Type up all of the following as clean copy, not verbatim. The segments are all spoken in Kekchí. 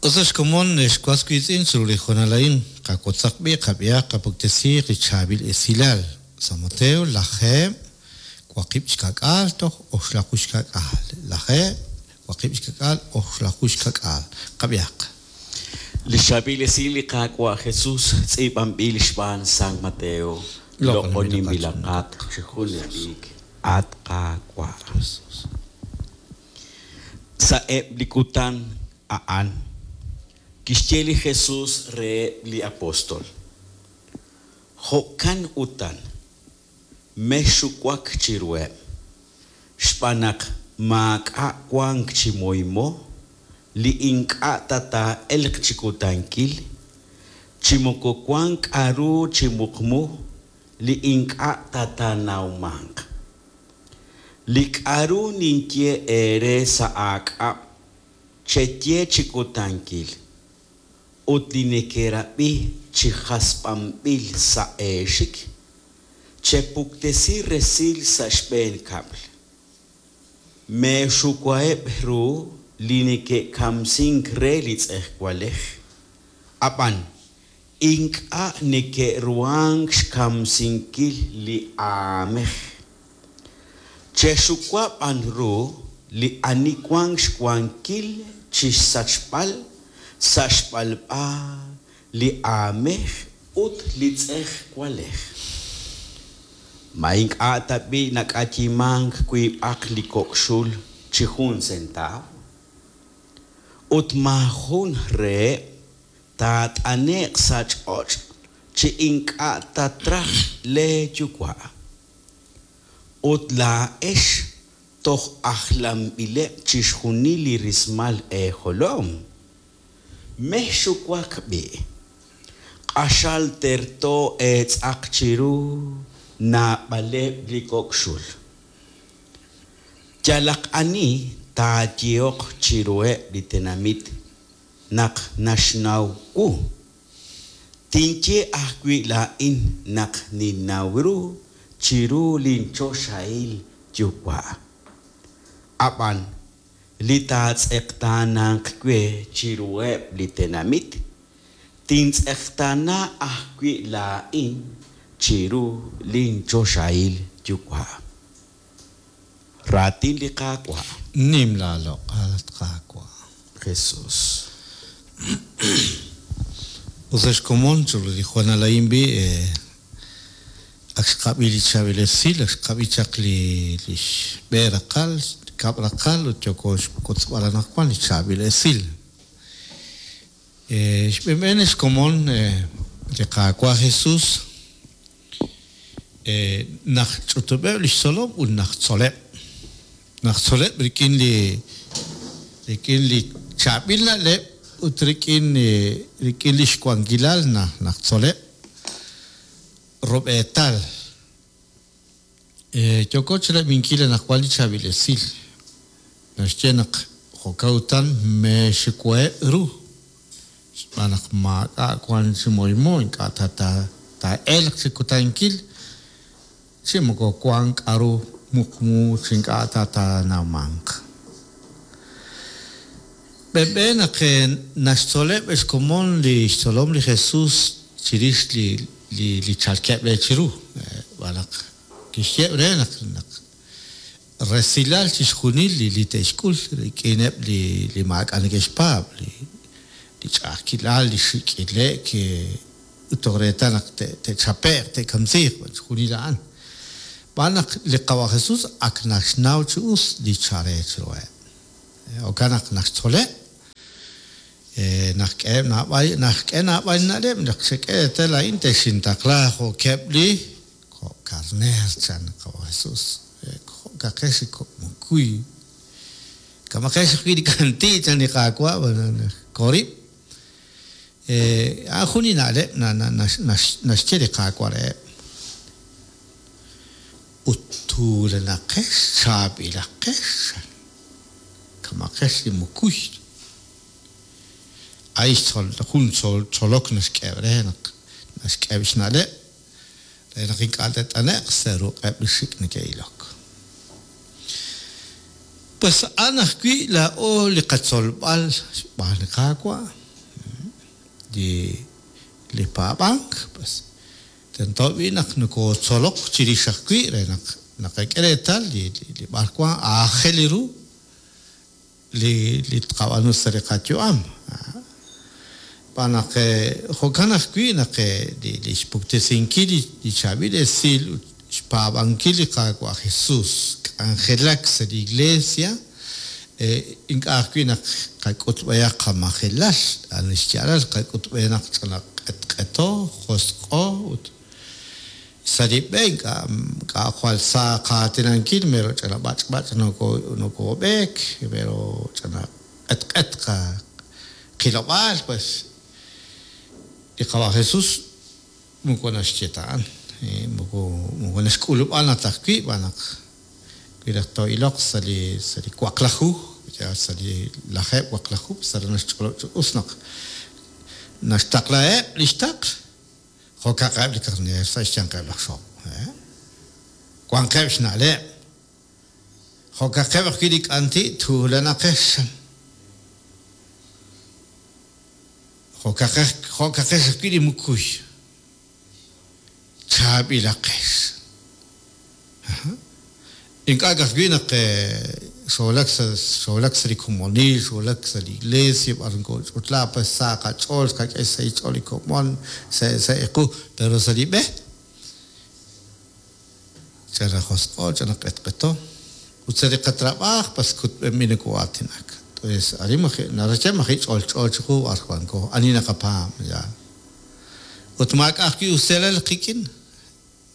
Us ex komon, ex was wiitz'in, chiru li hoonal a'in, qawotzaq b'i', qab'ihaq, qapuktesiiq li chaab'il esilal. San Mateo, lajeeb', 60 toj 60. Lajeeb', 60, 60. Qab'ihaq. Li chaab'il esil li Qaawa' Jesus tz'iib'anb'il xb'aan San Mateo. Loq'oninb'ilaqat chi junelik, at Qaawa'. Sa'eb' li kutan a'an, kixye li Jesus reheb' li apóstol, Jo'kan utan, mexxuwak chiruheb', xb'aan naq maak'a' wank chi moymo li ink'a' ta taa'elq chi kutankil, chi moko wank k'aru chi muqmu li ink'a' ta taanawmanq. Li k'aru ninye eere sa' aak'ab', cheye chi kutankil, ut li nekerab'i chi hasb'anb'il sa' eexik, chepuktesi resil sa' xb'een kab'l. Meexuwaheb' ru li neke'kamsink re li tz'ejwalej, ab'an ink'a' neke'ruhank xkamsinkil li aanmej. Chexuwa b'an ru li ani wank xwankil chi xsachb'al sa' xb'alb'a li aanmej ut li tz'ejwalej. Ma ink'a' tab'i' nak'ayimank wiib'aq li kok' xul chi jun sentaaw? Ut maajun reheb' taat'ane'q sa' ch'och' chi ink'a' ta traj leeyuwa'. Ut laa'ex toj ajlanb'ileb' chixjunil li rismal eejolom. Mexxuwak b'i'. Q'axal terto eetz'aq chiru naab'aleb' li kok' xul. Yalaq ani taayehoq chiruheb' li tenamit naq naxnaw wu, tinye ajwi' laa'in naq ninnaw ru chiru linchoxahil Yuwa'. Ab'an li taatz'eqtaananq we chiruheb' li tenamit, tintz'eqtaana ajwi' laa'in chiru linchoxahil Yuwa'. Raatin li Qaawa'. Nim laaloq'al, at Qaawa'. Jesús. Us ex komon, chiru li hoonal a'in b'i', ak xqab'i li chaab'il esil, ak xqab'i chaq li li xb'een raqal, xkab' raqal ut yooko xwotzb'al anaqwan li chaab'il esil. Xb'een ex komon, li Qaawa' Jesus naq ch'utub'eb' li xtzolom ut naq tzoleb'. Naq tzoleb' rik'in li rik'in li chaab'il na'leb' ut rik'in rik'in li xwankilal naq tzoleb' rub'eetal. Yooko chirab'inkil anaqwan li chaab'il esil. Naxye naq jo'kan utan meexiwaheb' ru, xb'aan naq maak'a' wank chi moymo ink'a' ta taa'elq chi kutankil, chi moko wank k'aru muqmu chi ink'a' ta taanawmanq. B'enb'e naq naxtzoleb' xkomon li xtzolom li Jesus chirix li li chalkeb' re chiru, xb'aan naq kixye re naq naq resilal chixjunil li li te'xk'ul rik'ineb' li li maak'a' neke'xpaab', li li ch'a'ajkilal, li xik' ile'k, ut toj reetal naq te'chape'q, te'kamsiiq, chixjunil a'an. Xb'aan naq li Qawa' Jesus ak naxnaw chi us li chal re chiruheb'. Jo'kan naq naxtzoleb', naxk'eheb' naab'al, naxk'e naab'al li na'leb' naq xek'e reetal laa'in texintaqla jo'keb' li kok' karneer, chan li Qawa' Jesus. Jo'kaqex li kok' mukuy. Kamaqex ajwi' li k'anti', chan li Qaawa', korib'. A'an jun li na'leb' naxye li Qaawa' reheb'. Ut tuulanaqex, chaab'ilaqex, chan. Kamaqex li mukuy. A'in xtzol jun tzolok naxk'eheb' re naq naxk'eheb' xna'leb' re naq ink'a' te't'ane'q sa' ruq'eb' li xik' neke'ilok. Pues a'an ajwi' laa'o li qatzolb'al xb'aan li Qaawa'. li li paab'ank, pues tento b'i' naq nokootzolok chirix ajwi' re naq naqak'e reetal li li b'arwan aajel ru li li tqab'aanu sa' li qayu'am. Xb'aan naq jo'kan ajwi' naq li li xpuktesinkil li chaab'il esil ut xpaab'ankil li Qaawa' Jesus, k'anjelak sa' li iglesia, ink'a' ajwi' naq qak'utb'ehaq qamajelal, a'an li xyaalal qak'utb'e naq ch'ina q'etq'eto, josq'o ut sa' li b'e ink'a' ink'a' jwal sa qaatinankil, mero ch'ina b'ach'b'ach' noko nokob'eek, mero ch'ina q'etq'et qilob'aal, pues li Qawa' Jesus moko naxye ta a'an, moko moko naxk'ulub'a ta ajwi' xb'aan naq wi raj too'iloq sa' li sa' li waqlaju, sa' li lajeeb' waqlaju, sa' naxch'olob' chi us naq naxtaqlaheb' li xtaql jo'kaqeb' li karneer sa' xyanqeb' laj xojb'. Wanqeb' xna'leb', jo'kaqeb' ajwi' li k'anti' tuulanaqex. Jo'kaqex jo'kaqex ajwi' li mukuy, chaab'ilaqex. Ink'a' ka'ajwi' naq xoowulak sa' xoowulak sa' li komonil, xoowulak sa' li iglesia b'ar nokooch'utla pues sa qach'ool xqak'e xsahil xch'ool li komon sa' sa' equ, pero sa' li b'e ch'ina josq'o, ch'ina q'etq'eto ut sa' li qatrab'aaj pues kutb'enb'il nokoo'aatinak. Entonces arin maji' naraj xyeeb'al maji' ch'olch'o chiqu b'ar wanko, ani naqapaab' yaal. Ut maak'a' ajwi' usilal qik'in,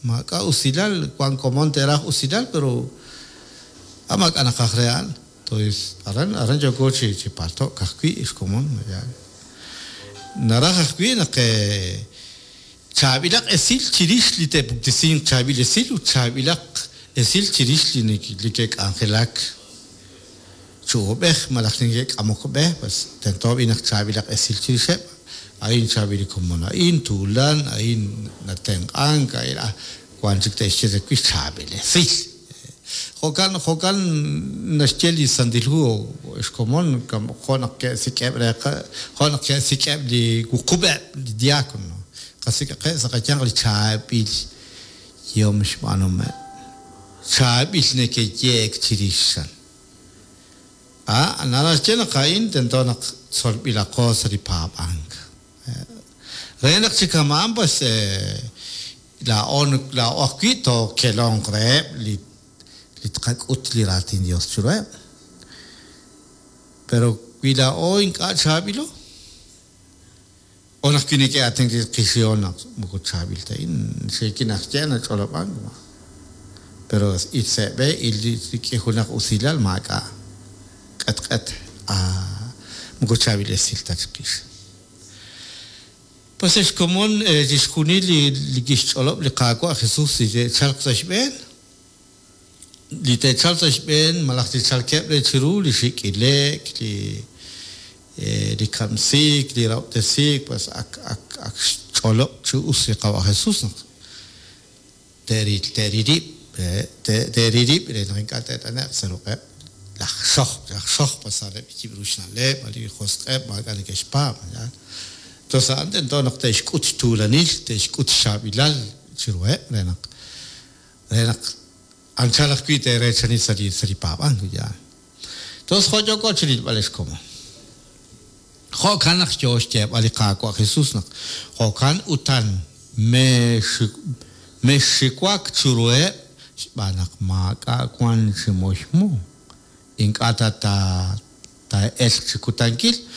maak'a' usilal, wank komon te'raj usilal pero a maak'a' naqaj re a'an. Entonces aran aran yooko chi chi palto'k ajwi' xkomon yaal. Naraj ajwi' naq chaab'ilaq esil chirix li te'puktesinq chaab'il esil ut chaab'ilaq esil chirix li li ke'k'anjelak chi uub'ej malaj li neke'k'amok b'e, pues tento b'i' naq chaab'ilaq esil chirixeb', a'in chaab'il li komon a'in, tuulan, a'in natenq'ank, a'in wank chik te'xye chawix chaab'il esil. Jo'kan jo'kan naxye li Santil Hu xkomon jo' naq ke'sik'eb' re jo' naq ke'sik'eb' li wuqub'eb' li diakono, qasik'aqeb' sa' qayanq li chaab'il yehom xb'aanuhomeb', chaab'il neke'yeek chirix. A naraj xye naq a'in tento naq tzolb'ilaqo sa' li paab'ank. Re naq chi kama'an pues laa'o laa'o ajwi' tookelonq reheb' li li tqak'ut li raatin Dios chiruheb'. Pero wi laa'o ink'a' chaab'ilo, o naq wi neke'aatinak chiqix naq moko chaab'il ta a'in, xiikil naxye nach'olob'ank, pero il sa' b'e, il rik'in junaq usilal maak'a' q'etq'et, moko chaab'il esil ta chiqix. Pues ex komon chixjunil li li kixch'olob' li Qaawa' Jesus li te'chalq sa' xb'een, li te'chalq sa' xb'een malaj li chalkeb' re chiru li xik' ile'k, li li kamsiik, li rahob'tesiik, pues ak ak ak xch'olob' chi us li Qawa' Jesus naq te'ril te'ril rib' te'ril rib' re naq ink'a' te't'ane'q sa' ruq'eb' laj xojb', laj xojb' pues a'aneb' li yib' ru xna'leb', li josq'eb' maak'a' neke'xpaab', yaal. Entonces a'an tento naq te'xk'ut xtuulanil, te'xk'ut xchaab'ilal chiruheb' re naq re naq anchal ajwi' te'reechani sa' li sa' li paab'ank, yaal. Entonces jo' yooko chi rilb'al ex komon. Jo'kan naq yo xyeeb'al li Qaawa' Jesus naq jo'kan utan mexxiwak chiruheb' xb'aan naq maak'a' wank chi moymo, ink'a' ta taa'elq chi kutankil.